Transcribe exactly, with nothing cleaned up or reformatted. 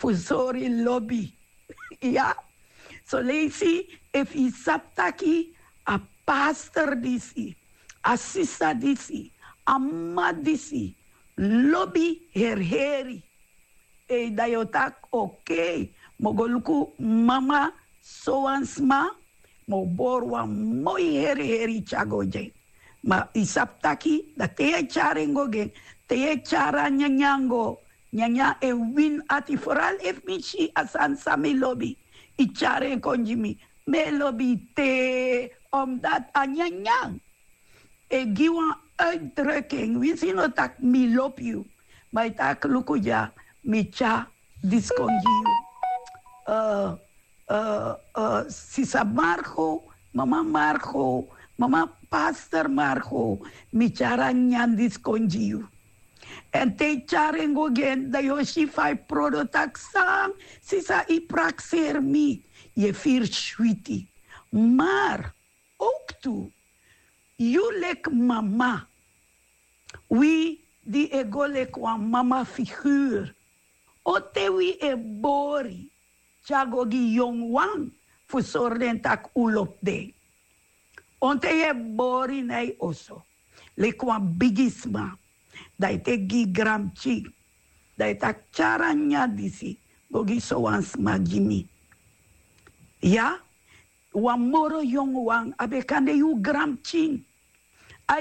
fu sori lobi. Ya. Soleisi, efu yu sabi taki a pastor disi, a sisa disi, a mama disi lobi herheri, ei, dan yu o taki, okei, mi o go luku mama sowan sma, mi o bori wan moi herheri tyari go gi en. Ma yu sabi taki, dan te yu e tyari en go gi en, te yu e tyari a nyanyan go, nyanyan e wini ati, foral efu mi si a sani san mi lobi, yu tyari en kon gi mi, mi e lobi yu te, omdat a nyanyan e gi wan uitdrukking, winsi yu no taki mi lobi yu, ma yu taki luku dya, mi tyari disi kon gi yu. Eh, eh, eh, sisa Margo, mama Margo, mama pastor Margo, mi tyari a nyanyan disi kon gi yu. Èn te yu tyari en go gi en, dan yu o si fa yu prodo taki san, sisa, yu prakseri mi, yu e firi switi. Maar ook tu, yu leki mama, wi di e go leki wan mama figuur, on ten wi e bori tyari go gi yongu wan fu sori den taki un lobi den. On ten yu e bori na yu oso leki wan bigisma, dan yu teki gi yu granpikin, dan yu taki tyari a nyanyan disi go gi sowan sma gi mi. Ya, wan moro yongu wan, a ben kan de yu granpikin.